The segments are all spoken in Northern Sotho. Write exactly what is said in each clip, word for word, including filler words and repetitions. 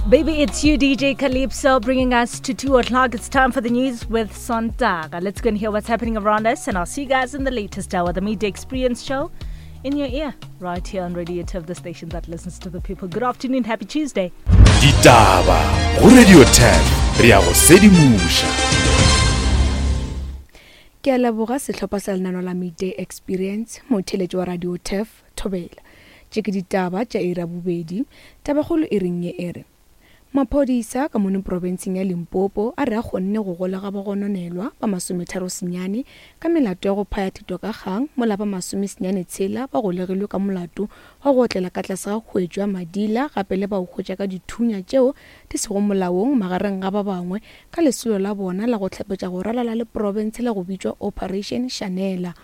Baby, it's you, D J Calypso, bringing us to two o'clock. It's time for the news with Sontaga. Let's go and hear what's happening around us, and I'll see you guys in the latest hour, the Midday Experience Show, in your ear, right here on Radio Turf, the station that listens to the people. Good afternoon, happy Tuesday. Ditaba go Radio ten, re ya go sedimoša. Ke a leboga sehlopha sa lenano la Midday Experience. Motheletši wa Radio Turf, thobela. Tše ke ditaba tša iri ya bobedi. Tabakgolo e reng ye e re maphodisa ka mono profenseng ya Limpopo a re a kgonne go golega bagononelwa ba masometharo senyane ka melato ya go phaya thito ka kgang, mola ba masomesenyane tshela ba golegilwe ka molato wa go otlela ka tlase ga khuetšo ya madila, gape le ba go hwetša ka dithunya tšeo di sego molaong, magareng ga ba bangwe, ka lesolo la bona la go hlapetša go ralala le profense la go bitšwa Operation Shanela.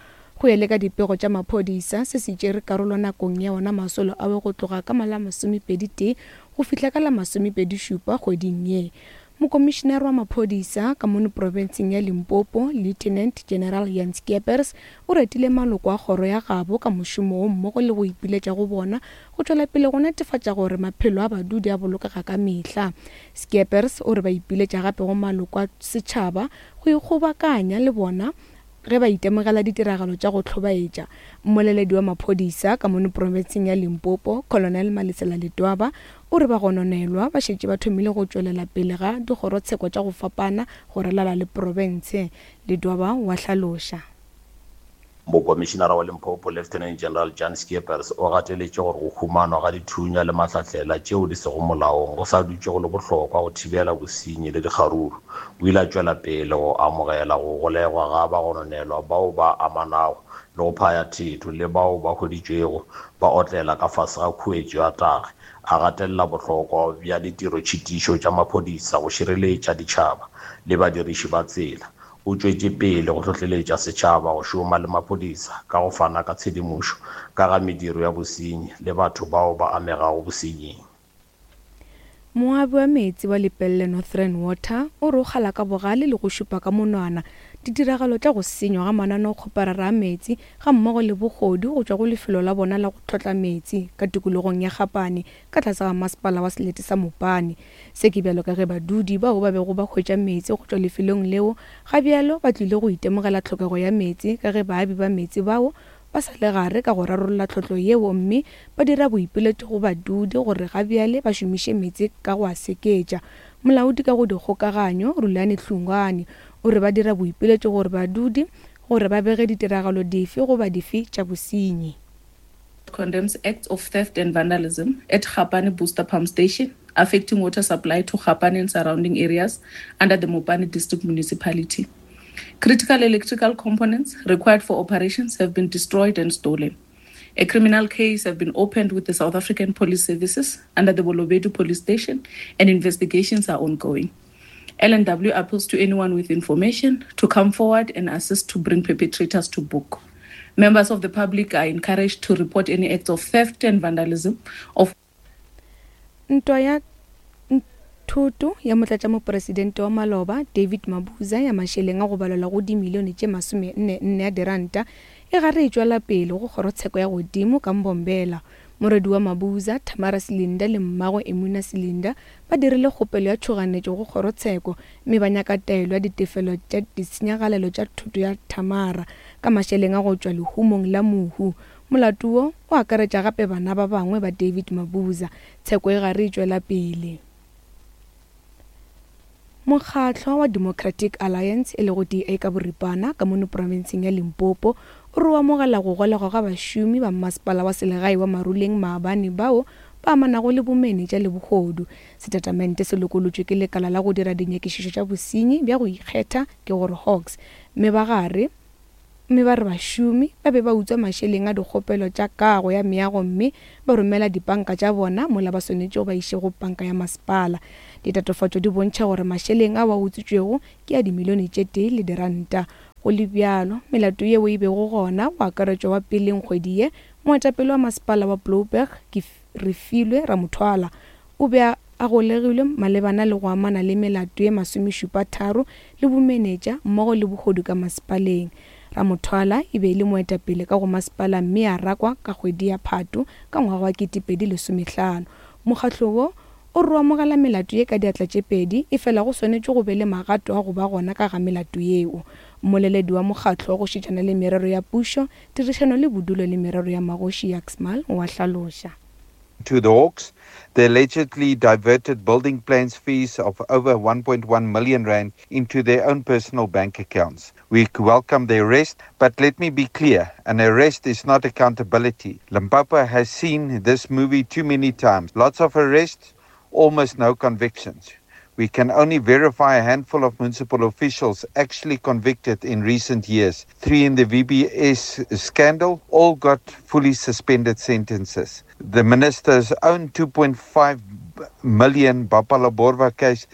Go ya le ka dipego tša maphodisa, se se tšere karolo nakong ya ona masolo ao go tloga ka la masomepedi tee go fihla ka la masomepedi šupa kgweding ye. Mokomišenare wa maphodisa ka mono profenseng ya Limpopo, Lieutenant General Jan Scheepers, o retile maloko a kgoro ya gabo ka mošomo wo mmogo le go ipiletša go bona go tšwela pele go netefatša gore maphelo a badudi a bolokega ka mehla. Scheepers o re ba ipiletša gape go maloko a setšhaba go ikgobakanya le bona ge ba itemogela ditiragalo tša go hlobaetša. Mmoleledi wa maphodisa ka mono profenseng ya Limpopo, Colonel Malesela Ledwaba, o re bagononelwa ba šetše ba thomile go tšwelela pele ga dikgorotsheko tša go fapana go ralala le profense. Ledwaba wa hlaloša. Mokomišenara wa Limpopo, Lieutenant General Jan Scheepers, o gateletše gore go humanwa ga dithunya le mahlahlela tšeo di sego molaong go sa dutše go le bohlokwa go thibela bosenyi le dikgaruru. O ile a tšwela pele go amogela go golegwa ga bagononelwa bao ba amanago le go phaya thetho le bao ba hweditšwego ba otlela ka fase ga khuetšo ya tagi, a gatelela bohlokwa bja ditirotšhitišo tša maphodisa go šireletša ditšhaba le badiriši ba tsela. O tšwetše pele go hlohleletša setšhaba go šoma le maphodisa ka go fana ka tshedimošo ka ga mediro ya bosenyi le batho bao ba amegago bosenying. Moabi wa meetse wa Lepelle Northern Water o re o kgala ka bogale le go šupa ka monwana ditiragalo tša go senywa ga mananeokgoparara a meetse ga mmogo le bogodu go tšwa go lefelo la bona la go tlhotla meetse ka tikologong ya Gapane ka tlase ga Masepala wa Selete sa Mopane. Se ke bjalo ka ge badudi bao ba bego ba hwetša meetse go tšwa lefelong leo ga bjalo ba tlile go itemogela tlhokego ya meetse, ka ge baabi ba meetse bao ba sa le gare ka go rarolla tlhotlo yeo, mme ba dira boipiletšo go badudi gore ga bjale ba šomiše meetse ka go a seketša. Molaodi ka go dikgokaganyo, Rulani Hlungwane, o re ba dira boipiletšo gore badudi gore ba bege ditiragalo dife goba dife tša bosenyi. Condemns acts of theft and vandalism at Gapane Booster Pump Station, affecting water supply to Gapane and surrounding areas under the Mopani District Municipality. Critical electrical components required for operations have been destroyed and stolen. A criminal case has been opened with the South African Police Services under the Bolobedu Police Station, and investigations are ongoing. L and W appeals to anyone with information to come forward and assist to bring perpetrators to book. Members of the public are encouraged to report any acts of theft and vandalism of Ntwa ya thoto ya motlatšamopresidente wa maloba David Mabuza ya mašeleng a go balelwa go dimilione tše masome nne nne ya diranta e gare e tšwela pele go kgorotsheko ya godimo ka Mbombela. Morwedi wa Mabuza, Thamara Silinda, le mmagwe, Emuna Silinda, ba dirile kgopelo ya tšhoganetšo go kgorotsheko, mme ba nyaka taelo ya ditefelo tša ditshenyagalelo tša thoto ya Thamara ka mašeleng a go tšwa lehumong la mohu. Molato wo o akaretša gape bana ba bangwe ba David Mabuza. Tsheko e gare e tšwela pele. Mokgatlo wa Democratic Alliance, e lego D A ka boripana, ka mono profenseng ya Limpopo o re o amogela go golegwa ga bašomi ba Masepala wa Selegae wa Maruleng maabane bao ba amanago le bomenetša le bohodu. Setatamente se lokolotšwe ke lekala la go dira dinyakišišo tša bosenyi bja go ikgetha, ke gore Hawks, mme ba gare mme ba re bašomi ba be ba utswa mašeleng a dikgopelo tša kago ya meago, mme ba romela dipanka tša bona mola ba swanetše go ba iše go panka ya masepala. Ditatofatšo di bontšha gore mašeleng ao a utswitšwego ke a dimilione tše tee le diranta. Go le bjalo, melato yeo e bego gona go akaretšwa wa peleng kgwedi ye, moetapele wa Masepala wa Blouberg ke Refilwe Ramothwala o be a golegilwe malebana le go amana le melato ye masomešupa tharo le bomenetša mmogo le bohodu ka masepaleng. Ramothwala e be e le moetapele ka go masepala mme a rakwa ka kgwedi ya Phato ka ngwaga wa ketepedi lesomehlano. Mokgatlo wo O re o amogela melato ye ka diatla tše pedi, efela go swanetše go be le magato a go ba gona ka ga melato yeo. Mmoleledi wa mokgatlo wa go šetšana le merero ya pušo, tirišano le bodulo le merero ya magoši Jacques Smalle o a hlaloša. To the Hawks, they allegedly diverted building plans fees of over one point one million rand into their own personal bank accounts. We welcome the arrest, but let me be clear, an arrest is not accountability. Limpopo has seen this movie too many times. Lots of arrests, almost no convictions. We can only verify a handful of municipal officials actually convicted in recent years. Three in the V B S scandal all got fully suspended sentences. The minister's own two point five million Bapalaborwa case.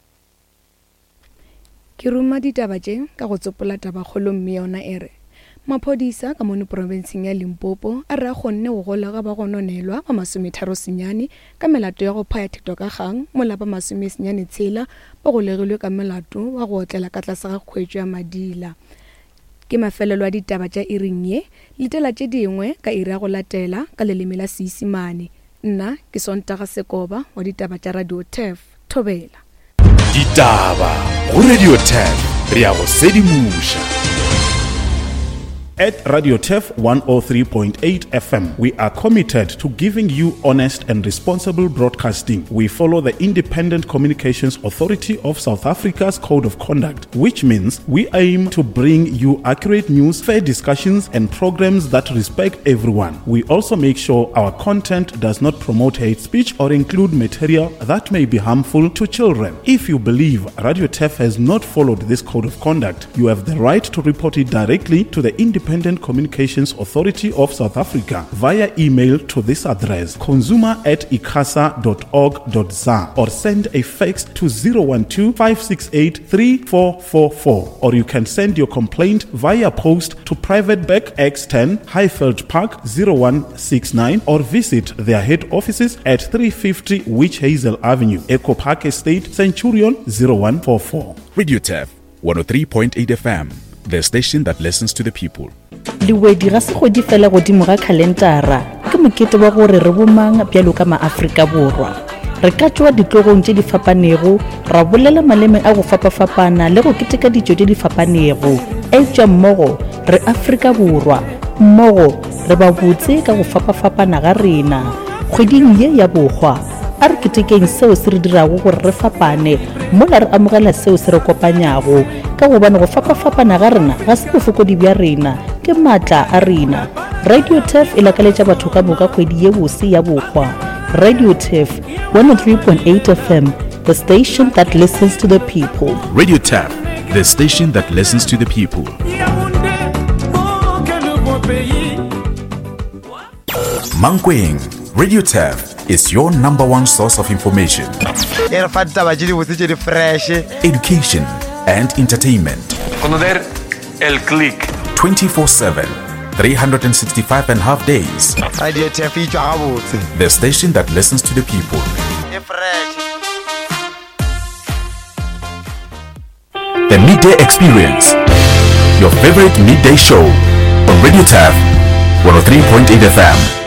Ke ruma ditaba tše ka go tsopola tabakgolo mme yona e re maphodisa ka mono profenseng ya Limpopo a re a kgonne go golega ba gononelwa ba masometharo senyane ka melato ya go phaya thito ka kgang, mola ba masomesenyane tshela ba golegilwe ka melato wa go otlela ka tlase ga kgwetšo ya madila. Ke mafelelo a ditaba tša iring ye, letela tše dingwe ka iri ya go latela ka leleme la Seisimane. Nna ke Sontaga Sekoba wa ditaba tša Radio Turf. Thobela. Ditaba go Radio Turf, re ya go sedimoša. At Radio Turf one oh three point eight F M, we are committed to giving you honest and responsible broadcasting. We follow the Independent Communications Authority of South Africa's Code of Conduct, which means we aim to bring you accurate news, fair discussions, and programs that respect everyone. We also make sure our content does not promote hate speech or include material that may be harmful to children. If you believe Radio Turf has not followed this Code of Conduct, you have the right to report it directly to the Independent Communications Authority of South Africa via email to this address, consumer at icasa dot org dot za, or send a fax to zero one two, five six eight, three four four four, or you can send your complaint via post to Private Bag X ten, Highveld Park zero one six nine, or visit their head offices at three fifty Witch Hazel Avenue, Eco Park Estate, Centurion zero one four four. Radio Turf one oh three point eight F M, the station that listens to the people. Lewedi ga se kgwedi fela godimo ga khalentara, ke mokete wa gore re bomang bjalo ka maAfrika Borwa. Re ka tšwa ditlogong tše di fapanego, ra bolela maleme a go fapafapana le go keteka ditšo tše di fapanego. Eupša mmogo re Afrika Borwa, mmogo re ba botse ka go fapafapana ga rena. Kgweding ye ya bohwa, a re ketekeng seo se re dirago gore re fapane, mola re amogela seo se re kopanyago, ka gobane go fapafapana ga rena ga se bofokodi bja rena, ke maatla a rena. Radio Turf e lakaletša batho ka moka kgwedi ye bose ya bohwa. Radio Turf one oh three point eight F M, the station that listens to the people. Radio Turf, the station that listens to the people. Mankweng, Radio Turf is your number one source of information, education, and entertainment. El Click. twenty-four seven, three hundred sixty-five and a half days. The station that listens to the people. The Midday Experience, your favorite midday show on Radio Turf one oh three point eight F M.